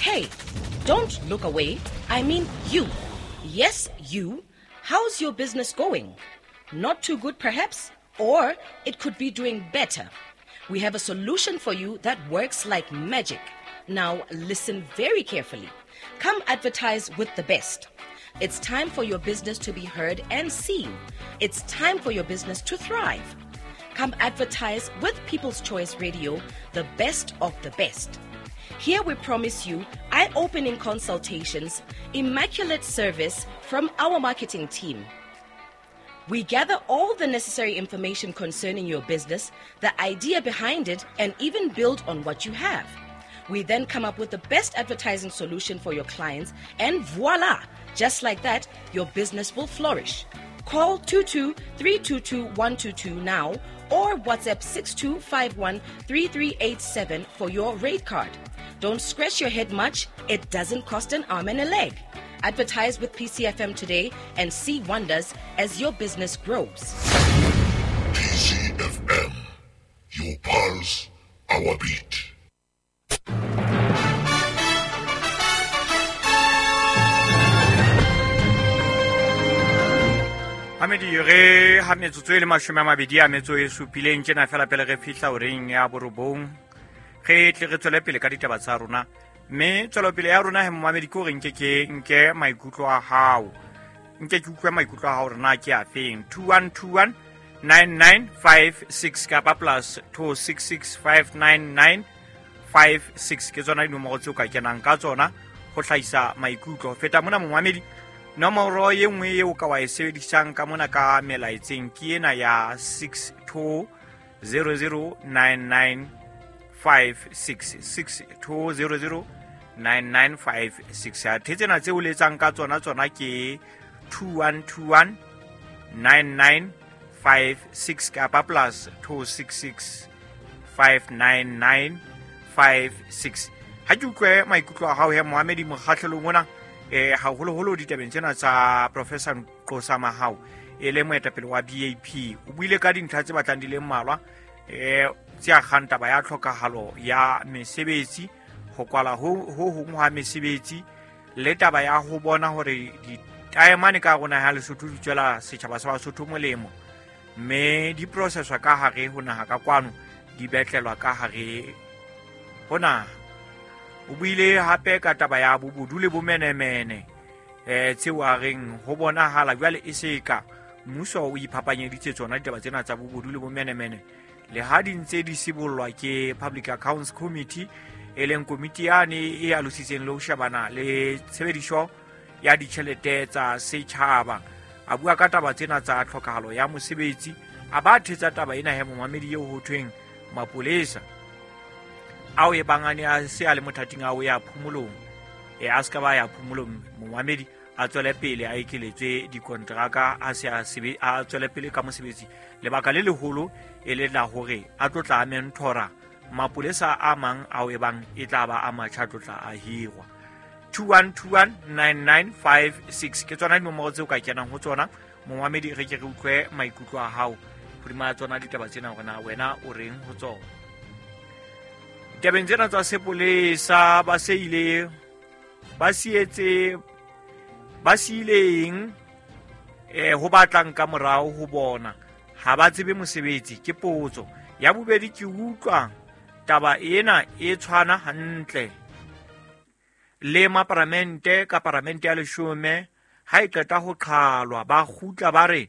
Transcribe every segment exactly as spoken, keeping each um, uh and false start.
Hey, don't look away. I mean you. Yes, you. How's your business going? Not too good, perhaps? Or it could be doing better. We have a solution for you that works like magic. Now, listen very carefully. Come advertise with the best. It's time for your business to be heard and seen. It's time for your business to thrive. Come advertise with People's Choice Radio, the best of the best. Here we promise you eye-opening consultations, immaculate service from our marketing team. We gather all the necessary information concerning your business, the idea behind it, and even build on what you have. We then come up with the best advertising solution for your clients, and voila! Just like that, your business will flourish. Call two two three two two one two two now or WhatsApp six two five one three three eight seven for your rate card. Don't scratch your head much. It doesn't cost an arm and a leg. Advertise with P C F M today and see wonders as your business grows. P C F M, your pulse, our beat. Hamedi re ha metsotso e le mashome a mabedi a metso e supileng tjena fela pele re fihla horeng ya borobong. Re tle re tswele pele ka ditaba tsa rona. Mme tswelopele ya rona he momamedi ke hore nke ke nke maikutlo a hao. Nke ke utlwe maikutlo a hao hore na ke a feng. two one two one nine nine five six kapa plus two six six five nine nine five six ke tsona dinomoro tseo ka kenang ka tsona ho hlahisa maikutlo. Feta mona momamedi, nomoro e nngwe eo ka wa e sebedisang ka mona ka melaetseng ke ena ya six two zero zero nine nine five six, six two zero zero nine nine five six. Athe tsena tseo le etsang ka tsona tsona ke two one two one nine nine five six kapa plus two six six five nine nine five six. Ha ke utlwe maikutlo a hao he Mohamedi mokgahlelong ona, eh haholoholo ditabeng tsena tsa Professor Nqosa Mahao e le moetapele wa B A P. O buile ka dintlha tse batlang di le mmalwa, eh tse akgang taba ya tlhokahalo ya mesebetsi, ho kwala ho ho hong ha mesebetsi, le taba ya ho bona hore ditaemane ka rona ha Lesotho di tswela setjhaba sa Basotho molemo, mme di processwa ka hare ho naha ka kwano, di betlelwa ka hare ho naha. O buile hape ka taba ya bobodu le bomenemene, eh tseo a reng ho bonahala jwale e se ka mmuso o iphapanyeditse tsona ditaba tsena tsa bobodu le bomenemene, le ha di ntse di sibollwa ke Public Accounts Committee, e leng komiti yane e alositseng le ho shebana le tshebediso ya ditjhelete tsa setjhaba. A bua ka taba tsena tsa tlhokahalo ya mosebetsi, a ba thetsa taba ena he momamedi eo ho thweng mapolesa ao e bang a ne a se a le mothating a o ya phomolong, e a se ka ba ya phomolong momamedi, a tswele pele a ekeletswe dikontraka, a se a sebe a tswele pele ka mosebetsi. Lebaka le leholo e le la hore a tlo tla mentora mapolesa a mang ao e bang e tla ba a matjha tlo tla a hirwa. two one two one nine nine five six ke tsona dinomoro tseo ka kenang ho tsona momamedi, re ke re utlwe maikutlo a hao hodima tsona ditaba tsena hore na wena o reng ho tsona. Ditabeng tsena tsa sepolesa ba se ile ba sietse ba siileng eh ho batlang ka morao ho bona ha ba tsebe mosebetsi ke potso. Ya bobedi ke utlwa taba ena e tshwana hantle le maparamente ka paramente ya leshome ha e qeta ho qhalwa ba kgutla ba re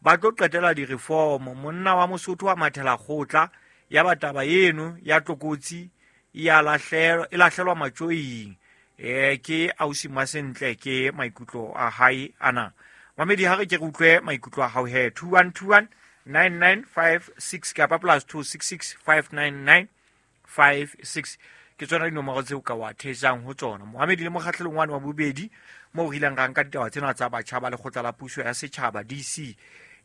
ba tlo qetela di-reform. Monna wa Mosotho wa mathela kgotla ya ba taba eno ya tlokotsi ya lahlelwa e lahlelwa matjoing. Eh ke ausi Masentle ke maikutlo a hae ana. Mamedi ha re ke re utlwe maikutlo a hao he two one two one nine nine five six kapa plus two six six five nine nine five six ke tsona dinomoro tseo ka wa thetsang ho tsona. Mohamedi le mokgahlelong wa bobedi moo re ileng ra nka ditaba tsena tsa batjha ba lekgotla la puso ya setjhaba D C,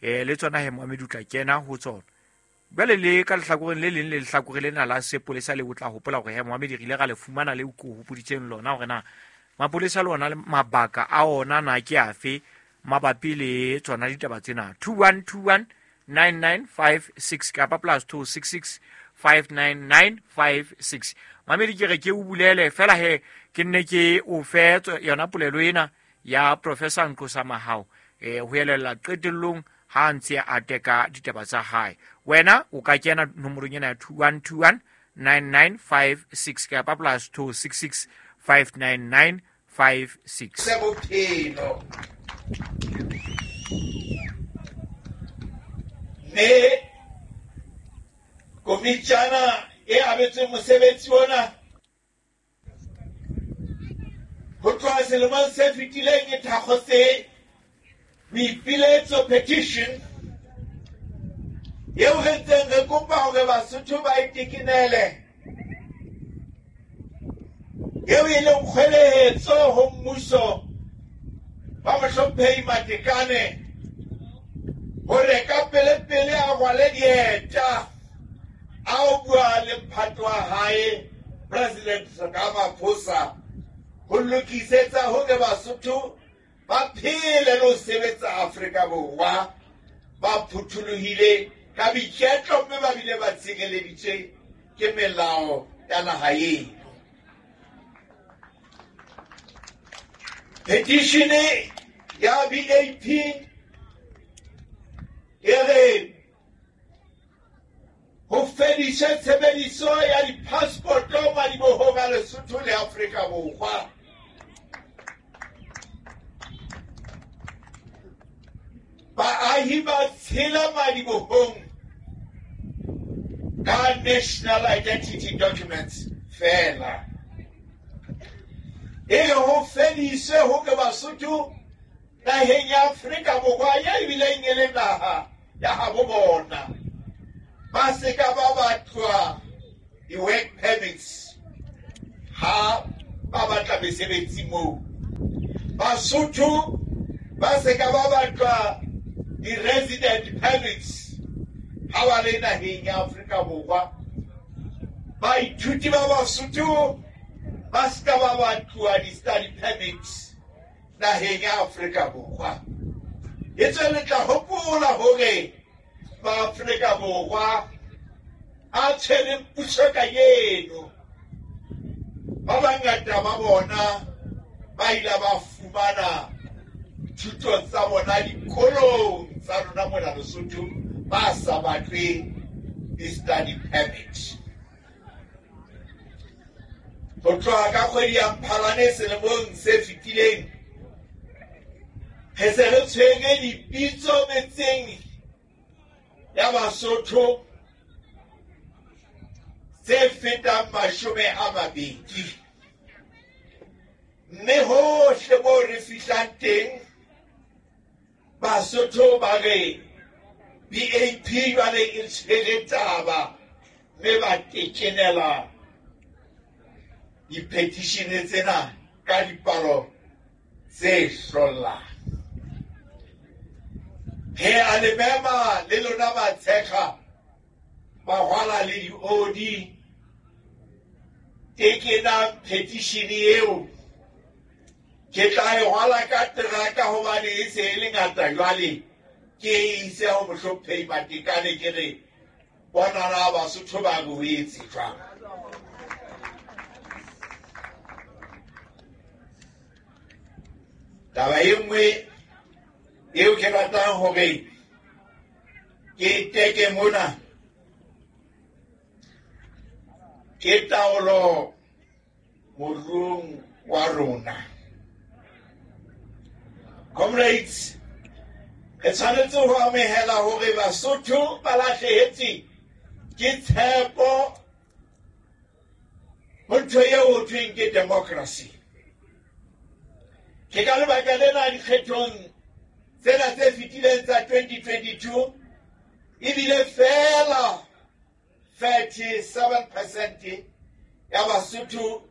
eh le tsona he Mohamedi o tla kena ho tsona. Jwale le ka lehlakoreng le leng le lehlakore lena la sepolesa le o tla hopola hore he Mohamedi re ile ra le fumana le ko hopoditseng lona hore na mapolesa le ona le mabaka a ona na ke afe mabapi le tsona ditaba tsena. two one two one nine nine five six kapa plus two six six five nine nine five six. Mamedi ke re ke o bulele fela he ke nne ke o fe yona polelo ena ya Professor Nqosa Mahao eh ho elella qetellong ha ntse a teka ditaba tsa hae. Wena o ka kena nomorong ena ya two one two one nine nine five six kapa plus two six six five nine nine five six. Bophelo mme komitjana e abetsweng mosebetsi ona ho tloha selemong se fetileng e thakgotse boipiletso petition eo re ntseng re kopa hore Basotho ba itekenele, eo e leng kgwelehetso ho mmuso wa Mohlomphehi Matekane hore ka pelepele a rwale dieta a o bua le mphato wa hae President Ramaphosa ho lokisetsa hore Basotho ba phele le ho sebetsa Afrika Borwa ba phuthulohile ka boiketlo mme ba bile ba tshireleditswe ke melao ya naha eno. Petition ya B A P e re ho fediswe tshebediso ya di-passport-o madibohong a Lesotho le Afrika Borwa. Baahi ba tshela madibohong ka national identity documents fela. E re ho fediswe hore Basotho naheng ya Afrika Borwa ye ebileng e le naha ya habo bona ba se ka ba batlwa di-work permits ha ba batla mesebetsi moo. Basotho ba se ka ba batlwa di-resident permits ha ba le naheng ya Afrika Borwa. Baithuti ba Basotho ba se ka ba batluwa di-study permits naheng ya Afrika Borwa. Etswe le tla hopola hore ba Afrika Borwa a tshwereng puso kajeno ba bangata ba bona ba ile ba fumana thuto tsa bona dikolong tsa rona mona Lesotho ba sa batle di-study permit. Ho tloha ka kgwedi ya Mphalane selemong se fetileng re se re tshwere dipitso metseng ya Basotho tse fetang mashome a mabedi, mme hohle moo re fihlang teng Basotho ba re B A P jwale e tshwere taba mme ba tekenela di-petition tsena ka dipalo tse hlollang. Re a le mema le lona batshekga bahwala le diodi, tekenang petition eo. Ke tla e rwala ka teraka hobane e se e le ngata jwale, ke e ise ho Mohlomphehi Matekane ke re bonana Basotho ba re o etse jwang. Taba e nngwe eo ke ratang hore ke teke mona ke taolo moruong wa rona. Comrades, re tshwanetse ho amohela hore Basotho ba lahlehetswe ke tshepo ho ntho eo ho thweng ke democracy. Ke ka lebaka lena dikgethong tsena tse fetileng tsa twenty twenty-two ebile fela thirty-seven percent ya Basotho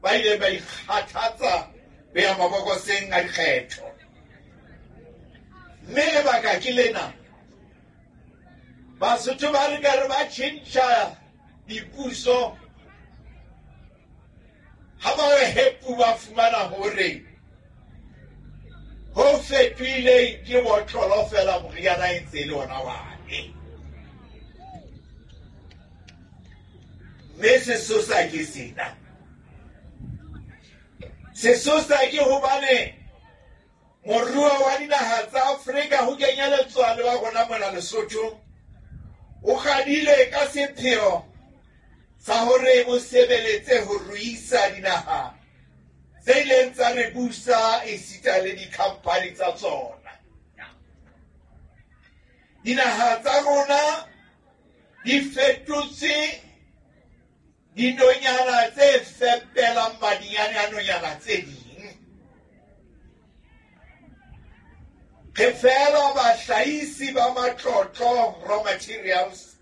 ba ile ba ikgathatsa ho ya mabokoseng a dikgetho. Mme lebaka ke lena, Basotho ba re ka re ba tjhentjha dipuso ha ba re hepu ba fumana hore ho fetohile ke botlolo fela moriana e ntse e le ona wane. Mme sesosa ke sena. Sesosa ke hobane moruo wa dinaha tsa Afrika ho kenyeletswa le wa rona mona Lesotho o kgadile ka sepheo sa hore o sebeletse ho ruisa dinaha tse ileng tsa re busa esita le dikhampani tsa tsona. Dinaha tsa rona di fetotse dinonyana tse fepelang madinyane a nonyana tse ding. Re fela bahlahisi ba matlotlo raw materials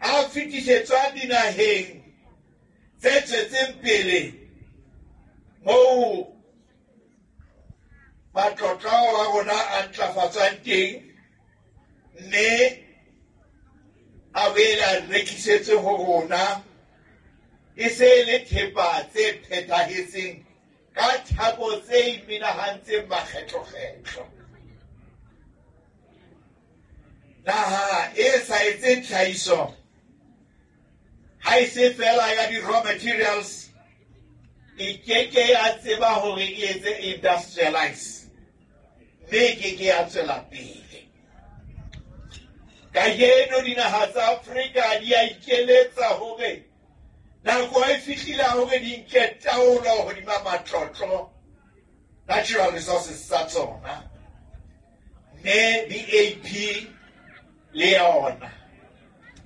a fetisetswang dinaheng tse tswetseng pele moo matlotlo a rona a ntlafatswang teng mme a boele a rekisetswe ho rona e se e le thepa tse phethahetseng ka theko tse imenahantseng makgetlokgetlo. Naha e sa etseng tlhahiso ha e se fela ya di-raw materials e keke ya tseba hore e etse industrialize mme e keke ya tswela pele. Kajeno dinaha tsa Afrika di a ikeletsa hore nako e fihlile hore di nke taolo hodima matlotlo natural resources tsa tsona, mme B A P le yona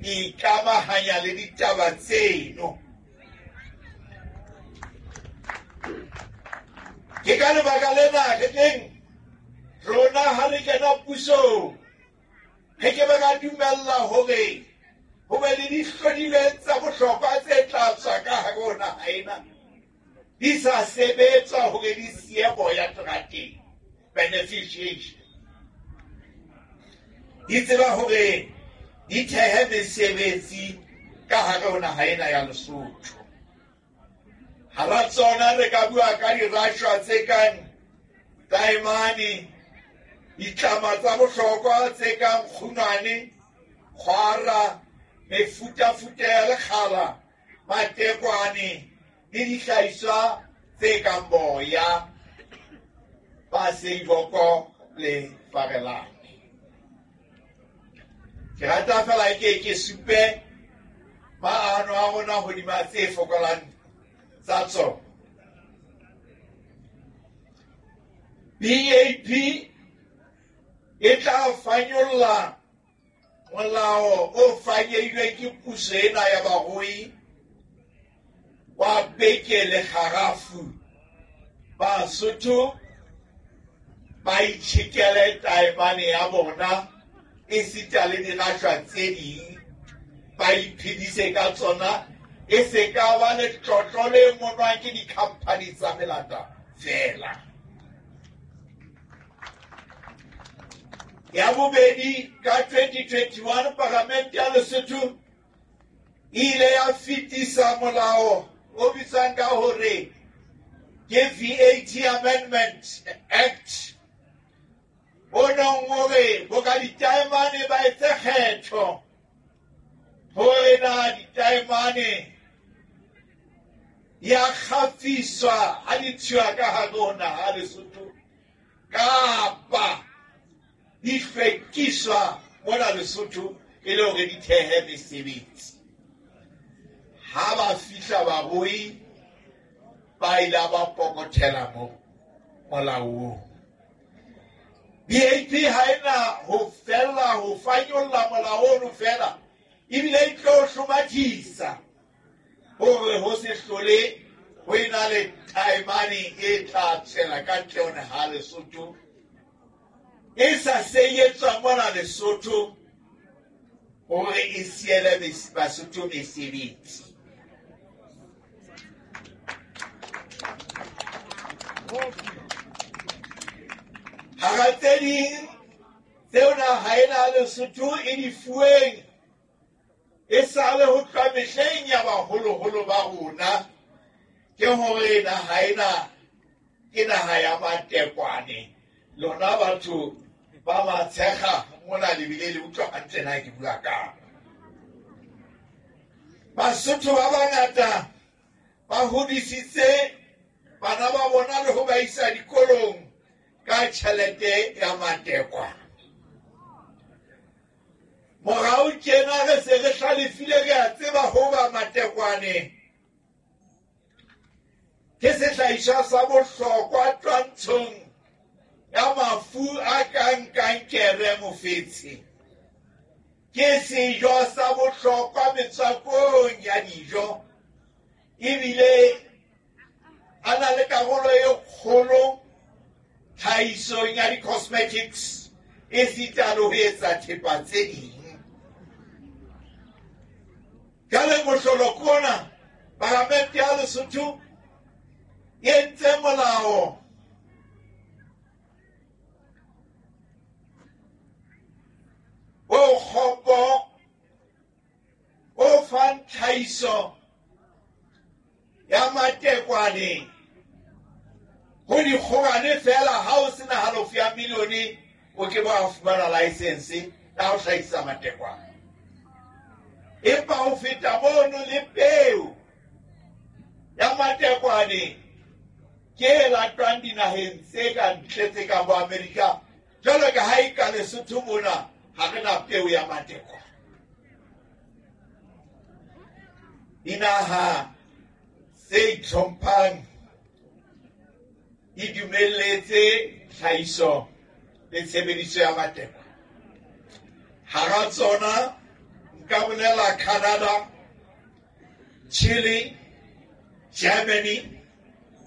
e ikamahanya le ditaba tseno. Ke ka lebaka lena re tleng rona ha re kena pusong re ke be ra dumella hore ho be le dihlodilweng tsa bohlokwa tse tla tswa ka hare ho naha ena di sa sebetswa hore di siye boya terateng, beneficiation. Di tseba hore di thehe mesebetsi ka hare ho naha ena ya Lesotho. Hara tsona re ka bua ka dirashwa tse kang taemane, ditlama tsa bohlokwa tse kang kgunwane, kgwara, mefutafuta ya lekgala, matekwane le dihlahiswa tse kang boya, baseiboko le farelane. Ke rata fela ke ke supe maano a rona hodima tse fokolang tsa tsona. B A P e tla fanyolla molao o fanyehilweng ke puso ena ya barui wa beke le kgarafu. Basotho ba itjhekele taemane ya bona esita le dirashwa tse ding, ba iphedise ka tsona, e se ka ba letlotlo le monwang ke dikhampani tsa melata fela. Ya bobedi, ka twenty twenty-one Palamente ya Lesotho e ile ya fetisa molao o bitswang ka hore ke V A T Amendment Act o nong hore bo ka ditaemane ba etse kgetho hore na ditaemane ya kgafiswa ha di tswa ka hare ho naha Lesotho kapa di hlwekiswa mona Lesotho e le hore di thehe mesebetsi. Ha ba fihla barui ba ile ba pokothela mo molaong. B A P ha ena ho fella ho fanyolla molao ono fela, ebile e tlo hlomathisa hore ho se hlole ho ena le taemane e tla tswela ka ntle ho naha Lesotho e sa seyetswa mona Lesotho hore e siele Basotho mesebetsi. Hara tse ding tseo naha ena Lesotho e di fuweng e sale ho tloha mehleng ya baholoholo ba rona ke hore naha ena ke naha ya matekwane. Lona batho ba Matshekga mona le bile le utlwa hantle na ke bua kang. Basotho ba bangata ba hodisitse bana ba bona le ho ba isa dikolong ka tjhelete ya matekwane. Morao tjena re se re hlalefile, re a tseba hoba matekwane ke sehlahiswa sa bohlokwa twantshong ya mafu a kang kankere mofetshe. Ke sejo sa bohlokwa metswakong ya dijo, ebile a na le karolo e kgolo tlhahisong ya di-cosmetics esita le ho etsa thepa tse ding. Jwale mohlolo ke ona, Palamente ya Lesotho e entse molao o kgopo o fang tlhahiso ya matekwane ho dikgobane fela. Ha o sena halofo ya milione o ke ba fumana license ya ho hlahisa matekwane. Empa ho feta mono le peo ya matekwane ke e latwang dinaheng tse ka ntle tse kang bo Amerika. Jwalo ka ha e ka Lesotho mona ha re na peo ya matekwane. Dinaha tse itlhomphang di dumelletse tlhahiso le tshebediso ya matekwane. Hara tsona nka bolela Canada, Chile, Germany,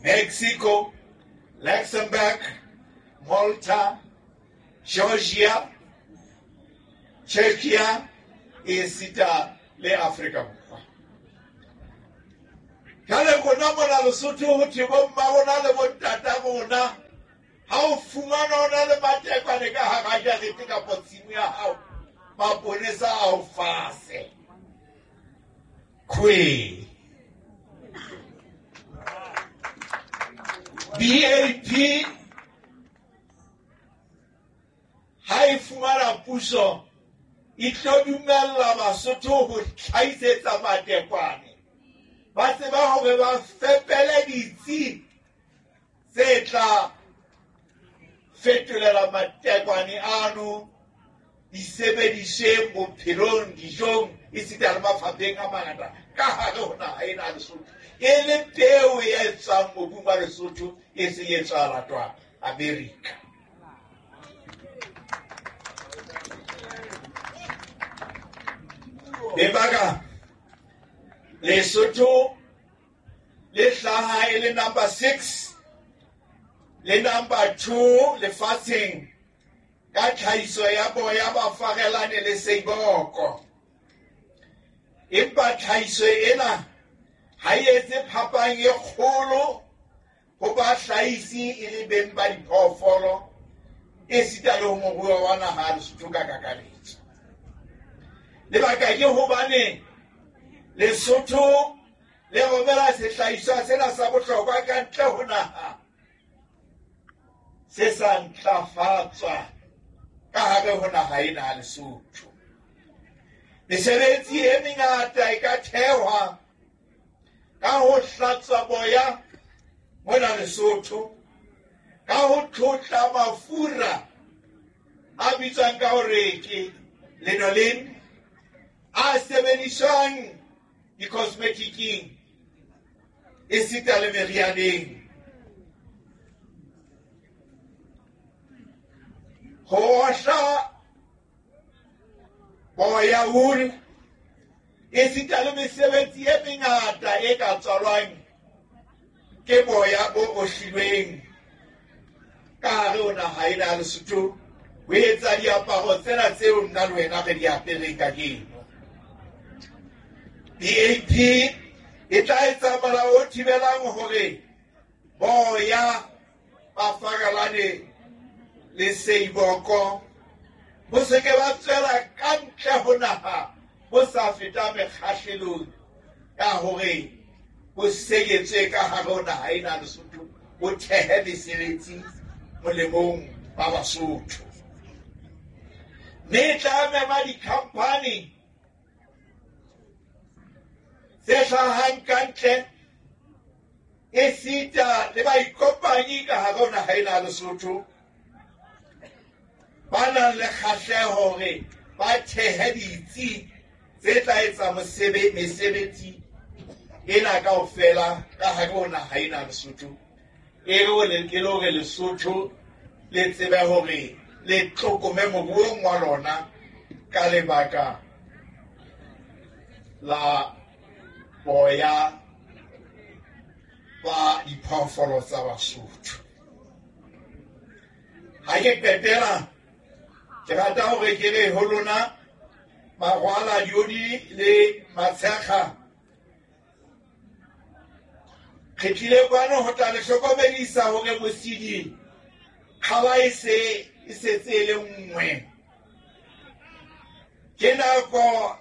Mexico, Luxembourg, Malta, Georgia, Czechia esita le Afrika Borwa. Jwale rona mona Lesotho ho thwe bomma rona le bontata rona, ha o fumana o na le matekwane ka hara jarete kapa tshimo ya hao, maponesa a o fase. Kwe. B A P ha e fumana puso e tlo dumella Basotho ho tlhahisetsa matekwane. Ba tseba hore ba fepele ditsi tse tla fetolela matekwane ano di sebediswe bophelong, dijong, esita le mafapheng a mangata ka hare ho naha ena ya Lesotho. E le peo e tswang mobung wa Lesotho e seng e tswa latwa Amerika. Lebaka Lesotho le hlaha e le number six le number two lefatsheng ka tlhahiso ya boya ba farelane le seiboko. Empa tlhahiso ena ha e etse phapang e kgolo ho bahlahisi e le beng ba diphoofolo esita le ho moruo wa naha ya Lesotho ka kakaretso. Lebaka ke hobane Lesotho le romela sehlahiswa sena sa bohlokwa ka ntle ho naha se sa ntlafatswa ka hare ho naha ena ya Lesotho. Mesebetsi e mengata e ka thehwa ka ho hlatswa boya mona Lesotho, ka ho tlotla mafura a bitswang ka hore ke lanolin a sebediswang di-cosmeticing esita le merianeng. Ho ohla boya wool esita le mesebetsi e mengata e ka tswalwang ke boya bo ohlilweng ka hare ho naha ena ya Lesotho ho etsa diaparo tsena tseo nna le wena re di apereng kajeno. B A P e tla etsa molao o thibelang hore boya ba farelane le seiboko bo se ke ba tswela ka ntle ho naha bo sa feta mekgahlelong ya hore bo seyetswe ka hare ho naha ena ya Lesotho, bo thehe mesebetsi molemong ba Basotho. Mme e tla mema di-company tse hlahang ka ntle esita le baikopanyi ka hare ho naha ena ya Lesotho ba nang le kgahleho hore ba thehe ditsi tse tla etsa mesebetsi ena kaofela ka hare ho naha ena ya Lesotho, e le hore Lesotho le tsebe hore le tlokome moruong wa lona ka lebaka la boya ba diphoofolo tsa Basotho. Ha ke qetela, ke rata hore ke re ho lona Magwala, Diodi le Matshekga, re tlile kwano ho tla le hlokomedisa hore Mosidi kgaba e se e setse e le nngwe. Ke nako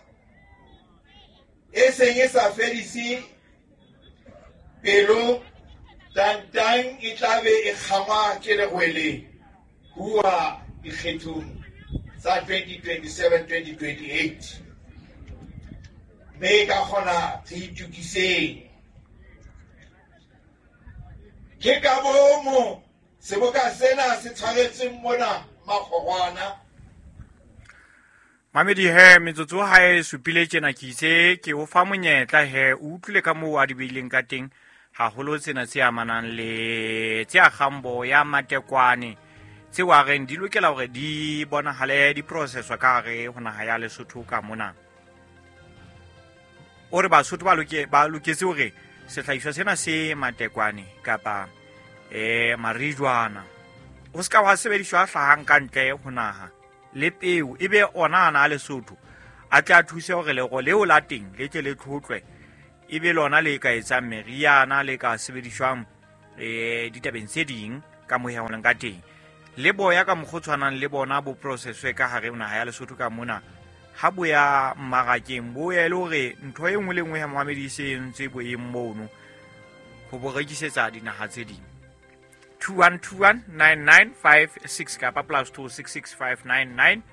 e seng e sa fedise pelo, tantang e tla be e kgangwa ke lerwele huwa dikgethong tsa twenty twenty-seven twenty twenty-eight. Mme ka kgona re itokiseng. Ke ka bomo seboka sena se tshwaretsweng mona Makgorwana. Mamedi he, metsotso ha e supile tjena ke itse ke o fa monyetla he, o utlwile ka moo a di beileng ka teng haholo tsena tse amanang le tse akgang boya matekwane tseo a reng di lokela hore di bonahale di processwa ka hare ho naha ya Lesotho ka mona. O re Basotho ba loke ba loketse hore sehlahiswa sena se matekwane kapa eh marijwana o ska wa sebediswa hlahang ka ntle ho naha, le peo e be ona ana a Lesotho a tla thuse hore lero leo la teng le tle le tlhotlwe e be lona le ka etsang meriana le ka sebediswang eh ditabeng tse ding ka moya ho ka teng. Le boya ka mokgwa o tshwanang le bona bo processwe ka hare ho naha ya Lesotho ka mona, ha bo ya mmarakeng bo ya e le hore ntho e nngwe le nngwe ya moamedi se entse boemong mono ho bo rekisetsa dinaha tse ding. two one two one nine nine five six kapa plus two six six five nine nine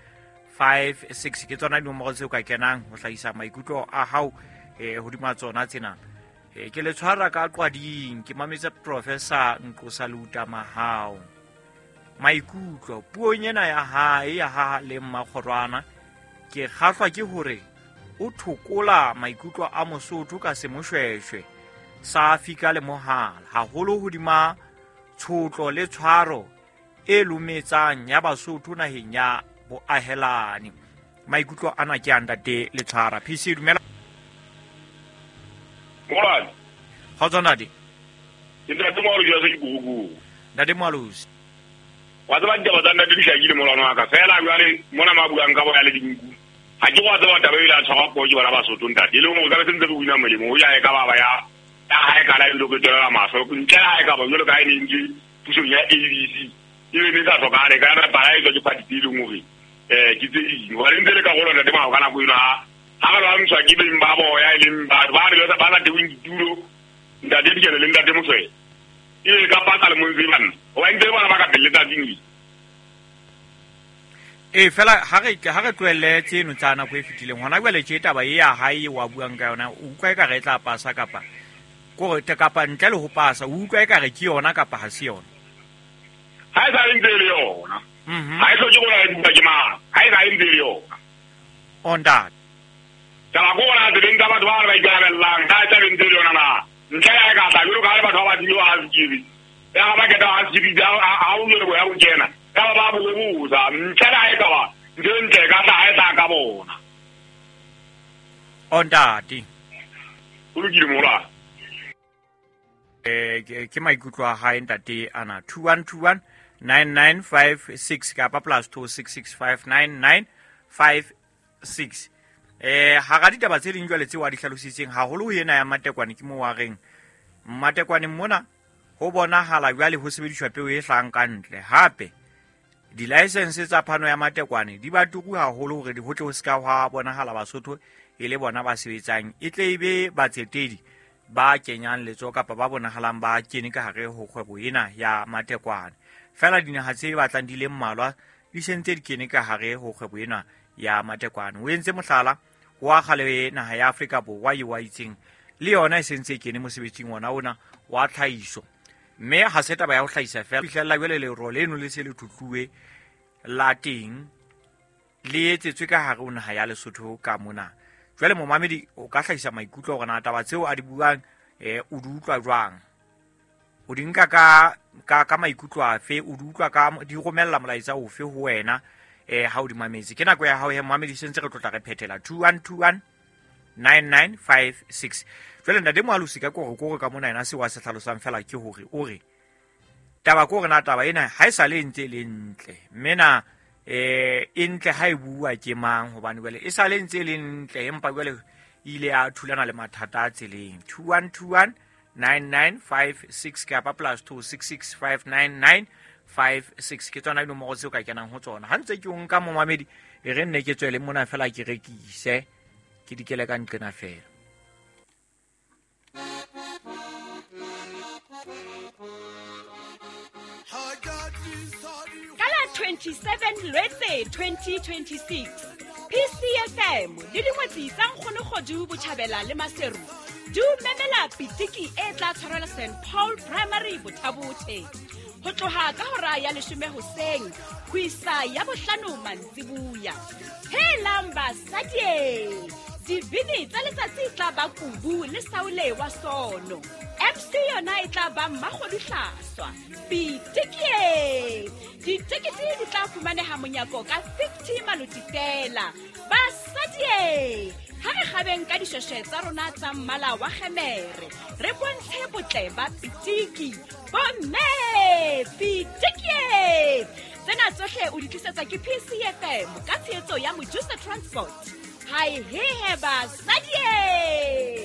five six ke tsona dinomoro tseo ka kenang ho hlahisa maikutlo a hao eh hodima tsona tsena. Eh ke le tshwara ka qwading, ke mametse Professor Nqosa Leuta Mahao. Maikutlo puong ena ya hae ya ha le Mmakgorwana, ke kgahlwa ke hore o thokola maikutlo a Mosotho ka semoshweshwe sa fika le mohala haholo hodima tshotlo le tshwaro e lumetsang ya Basotho naheng ya boahelani. Maikutlo ana ke a ntate le tshwara. P C dumela. Morale. Kgotso ntate. Ke ntate Moalosi ya Sekikuku. Ntate Moalosi. Wa tseba ditaba tsa ntate di hlakile molwana wa ka. Feela jwale mona ma buang ka boya le dinku. Ha ke wa tseba taba e ile a tshwarwa poo ke bana Basotho ntate. E leng hore ka be se ntse re wina molemo. O ja e ka baba ya ya hae ka la ilo ke tswela mahlo. Ntle le hae ka ba jwalo ka ha e ne ntse pusong ya A B C. E be ne sa hlokahale ka yona para e tswa ke party e leng hore eh ke tse ding. Hobane ntse le karolo ntate Mahao ka nako eno ha ha ba lwantshwa ke beng ba boya e leng batho ba re ba sa teweng ditulo ntate Dikelo le ntate Moswele. E ka pata le montse banna. Hobane ntse le bona ba ka pele letsatsing le. E fela ha re ha re tlohelle tseno tsa nako e fetileng hona jwale tje taba e ya hae wa buang ka yona, o utlwa eka re tla pasa kapa kore te kapa ntle le ho pasa, o utlwa eka re ke yona kapa ha se yona? Ha e sa ntse le yona. Ha e hloke gore re bua ke mang. Ha e sa ntse le yona. On that. Taba ko bona tse tsa batho ba re ba ikarabellang, ha e sa ntse le yona na. Ntle ya ka tla jwalo ka ha le batho ba ba dilo ha sekiri. Ya ga ba keta ha sekiri ha o jwalo boya bo kena. Ka ba ba bobuza, ntle le ha e ka ba ntho e ntle ka tla ha e tla ka bona. On that. O lokile mola. Eh ke maikutlo a hae ntate ana two one two one nine nine five six kapa plus two six six five nine nine five six. Eh hara ditaba tse ding jwale tseo a di hlalositseng haholo ho ena ya matekwane ke moo a reng matekwane mona ho bonahala jwale ho sebediswa peo e hlahang ka ntle. Hape di-license tsa phano ya matekwane di ba turu haholo hore di ho tle ho ska hwa bonahala Basotho e le bona ba sebetsang, e tle e be batsetedi ba kenyang letsoho kapa ba bonahalang ba kene ka hare ho kgwebo ena ya matekwane. Fela dinaha tse batlang di le mmalwa di sentse di kene ka hare ho kgwebo ena ya matekwane. O entse mohlala wa kgale naha ya Afrika Borwa eo a itseng Le yona e sentse e kene mosebetsing ona ona wa tlhahiso. Mme ha se taba ya ho hlahisa fela, fihlella jwale lero leno le se le thutluwe la teng le etsetswe ka hare ho naha ya Lesotho ka mona. Jwale momamedi o ka hlahisa maikutlo hore na taba tseo a di buang eh o di utlwa jwang, o di nka ka ka ka maikutlo afe, o di utlwa ka di romella molaetsa ofe ho wena eh ha o di mametse. Ke nako ya hao he momamedi, sentse re tlotla re phethela two one two one nine nine five six. Jwale ntate Moalosi ka kore kore ka mona yena se wa se hlalosang fela ke hore o re taba ko re na taba ena ha e sa le ntse le ntle, mme na eh e ntle ha e bua ke mang, hobane jwale e sa le ntse le ntle empa jwale ile a thulana le mathata a tseleng. Two one two one nine nine five six kapa plus two six six five nine nine five six ke tsona dinomoro tseo ka kenang ho tsona. Ha ntse ke o nka momamedi e re nne ke tswele mona fela ke rekise ke dikele ka nqena fela. Ka la twenty-seven Lwetse twenty twenty-six, P C F M le dingwetsi tsa Nkgono Kgodu Botjhabela le Maseru di o memela pitiki e tla tshwarelwa Saint Paul Primary Bothabothe ho tloha ka hora ya leshome hoseng ho isa ya bohlano mantsibuya. Helang basadi, dibini tsa letsatsi tla ba Kubu le Saule wa Sono. M C yona e tla ba Mmakgodu Hlaswa. Pitiki! Ditekete di tla fumaneha monyako ka fifty maloti fela. Basadi, ha re kgabeng ka dishweshwe tsa rona tsa mmala wa kgemere, re bontshe botle ba pitiki. Bomme, pitiki! Tsena tsohle o di tlisetsa ke P C F M ka tshehetso ya Mojusa Transport. Hai he he basadi!